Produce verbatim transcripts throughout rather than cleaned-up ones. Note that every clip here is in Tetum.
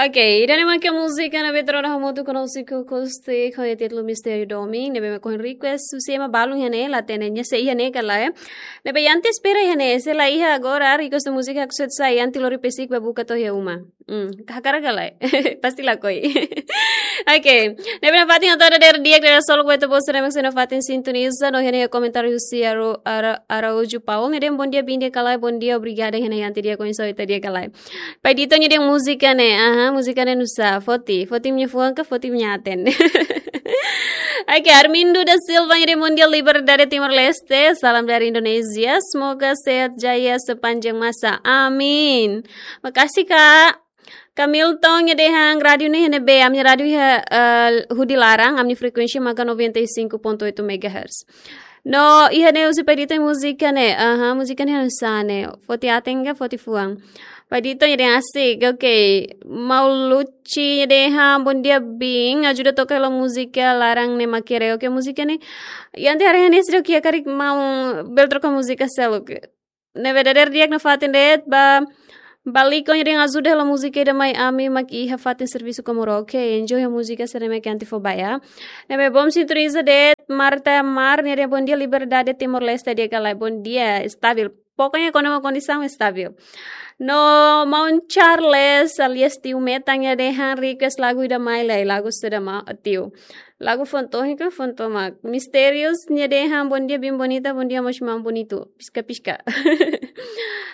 Ok, ida-ne'e mak múzika ne'ebé ita rona hamutuk ho nosik akústiku ho títulu Mistériu Domin, ne'ebé mak ohin request husi ema balun iha ne'e, la hatene nia sé iha ne'e ka lae. Ne'ebé Yanti espera iha ne'e, se la iha agora, request múzika haksoit sai, Yanti lori pesik ba buka to'o iha uma. Hmm, hakarak ka lae? Pasti lakohi. Ok, ne'ebé nafatin atu dadeer di'ak, solok ba ita-boot sira ne'ebé sei nafatin sintoniza, no iha ne'e komentáriu husi Ara-, Ara-, Araújo Paul, nia dehan bondia, bin di'ak ka lae, bondia, obrigada, iha ne'e Yanti di'ak, oinsá ita di'ak ka lae. Pai Dito nia dehan múzika ne'e, aha, múzika ne'e nusá, foti, foti imi-nia fuan ka foti imi-nia aten. Ok, Armindo da Silva nia dehan bondia Liberdade Timor-Leste, salam dari Indonesia, semoga sehat jaya sepanjang masa. Amin. Makasih, Kak. Kamilton nia dehan rádiu ne'e iha ne'ebé, ami-nia rádiu iha, eh, hudi laran, ami-nia frekuénsia maka noventa e cinco ponto oito megahertz. No, iha ne'e husi Pai Dito múzika ne'e. Aha, múzika ne'e nusá ne'e? Foti aten ka foti fuan? Pai Dito nia dehan asik, ok. Mau Luci nia dehan bondia bin, ajuda toka hela múzika laran ne'e mak kere. Ok, múzika ne'e. Yanti haree iha ne'e seidauk iha, karik maun bele troka múzika seluk. Ne'ebé dadeer di'ak nafatin de'it ba Baliko nia dehan ajuda hela múzika ida mai, ami mak iha fatin servisu Comoro. Ok, enjoy ho múzika sira-ne'e mak Yanti fó ba. Ne'ebé bom sintoniza de'it, Marta Mar nia dehan bondia Liberdade Timor-Leste di'ak ka lae, bondia, estabil. Pokoknya kuandu mak kondisaun estabil. No, maun Charles alias Tiu Metan nia dehan request lagu ida mai lai, lagu saida mak, Tiu? Lagu foun-tohik ka foun-tomak? Mistériu nia dehan bondia bin bonita, bondia mós maun bonitu. Piska-piska.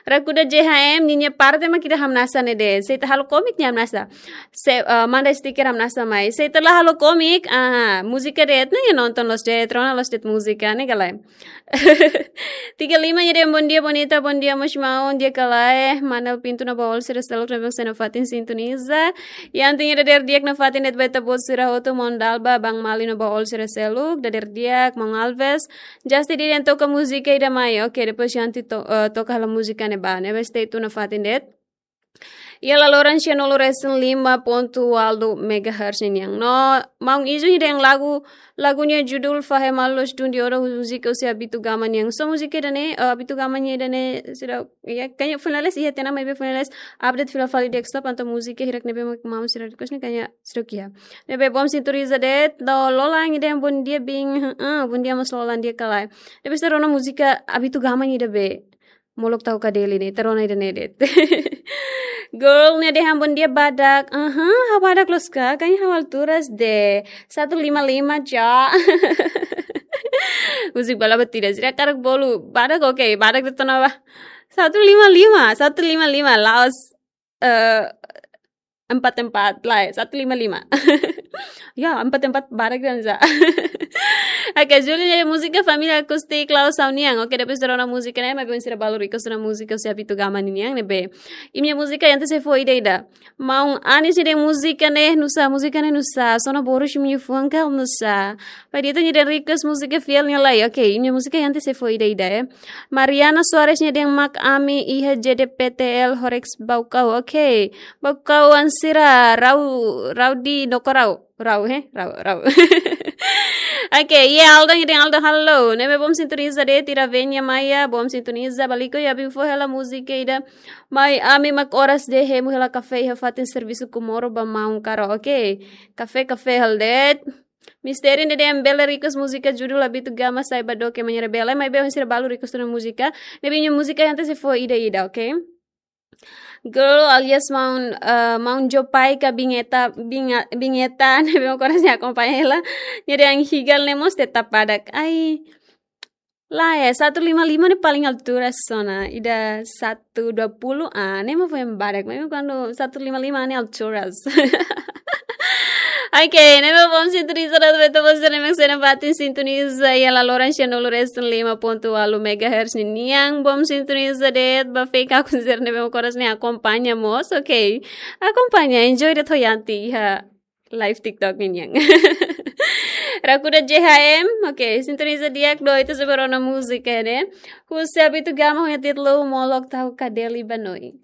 Rakuda J H M, ninia parte mak ida hamnasa ne'e de'it. Se ita halo komik nia hamnasa. Se, eh, manda stiker hamnasa mai. Se ita la halo komik, aha, múzika de'it ne'e nonton loos de'it, rona loos de'it múzika ne'e ka lae. Tiga lima nia dehan bondia bonita, bondia mós maun di'ak ka lae, Manel Pinto no ba oin sira seluk ne'ebé sei nafatin sintoniza. Yanti nia dadeer di'ak nafatin de'it ba ita-boot sira hotu, maun Dalba, Bang Mali no ba oin sira seluk, dadeer di'ak, maun Alves. Justin nia dehan toka múzika ida mai. Ok, depois Yanti to-, eh, toka hela múzika ne'ebá, ne'ebé stay tune nafatin de'it. Iha laloran sianulu resin lima pontu ualu megahertz ninian. No, maun Izu nia dehan lagu, lagu nia judul Fahe Malu Loos Dun Diodo, múzika husi Abito Gama nian. So múzika ida-ne'e, eh, Abito Gama nia ida-ne'e sira, ya, kayaknya finales iha tiha ona, maibé finales update fila fali desktop, entaun múzika hirak ne'ebé mak maun sira request ne'e kayaknya seidauk iha. Ne'ebé bom sintoniza de'it, no Lola nia dehan bondia bin, heeh, bondia mós Lola di'ak ka lae. Depois ita rona múzika Abito Gama nia ida be. Molok tau ka deli ne'e, ita rona ida-ne'e de'it. Girl nia dehan bondia badak. Aha, ha'u badak loos ka? Kayaknya ha'u alturas de'it. Satu lima lima, ja. Múzika bala batida. Sira hakarak bolu. Badak, ok, badak de'it ona ba. Satu lima lima, satu lima lima, la'ós, eh, empat empat, lae, satu lima lima. Ya, empat empat barak dan za. Ok, Júlia nia dehan múzika Família Acústica Klaus Saunian. Ok, depois ita rona múzika ne'e, maibé oin sira balu request ona múzika husi Abito Gama ninian ne'ebé. Imi-nia múzika Yanti sei fó ida-ida. Maun Anis nia dehan múzika ne'e nusá, múzika ne'e nusá, sona boros imi-nia fuan ka nusá? Pai Dito nia dehan request múzika Fiel nia lai. Ok, imi-nia múzika Yanti sei fó ida-ida, eh. Mariana Soares nia dehan mak ami iha J D P T L Horex Baucau. Ok. Baucau oan sira, rau, rau di doko rau. Rau, he? Rau, rau. Ok, iha Aldo nia dehan Aldo, halo. Ne'ebé bom sintoniza de'it, Ira Venia Maia, bom sintoniza, Baliko, ya bin fó hela múzika ida mai, ami mak oras de'it hemu hela kafé iha fatin servisu Comoro ba maun Karo. Ok. Kafé, kafé halo de'it. Mistériu nia dehan bele request múzika judul Abito Gama Sai Ba Doke Manhã Rebelde, maibé oin sira balu request ona múzika. Ne'ebé imi-nia múzika Yanti sei fó ida-ida, ok? Girl alias maun, eh, maun Jopai ka Bingeta, Binga-, Bingeta, ne'ebé mak oras ne'e akompaña hela. Nia dehan higal ne'e mós tetap badak. Ai, lae, satu lima lima ne'e paling alturas ona. Ida satu dua puluh, ah, ne'e mak foin badak. Maibé kuandu satu lima lima ne'e alturas. Ok, ne'ebé bom sintoniza de'it ba ita-boot sira ne'ebé sei nafatin sintoniza iha laloran sianulu resin lima pontu ualu megahertz ninian. Bom sintoniza de'it ba fake akun sira ne'ebé mak oras ne'e akompaña mós, ok. Akompaña, enjoy de'it ho Yanti iha live TikTok ninian. Rakuda J H M, ok, sintoniza di'ak, no ita sei ba rona múzika ne'e. Husi Abito Gama ho nia títulu Molok Tahu Kadeli Banoi.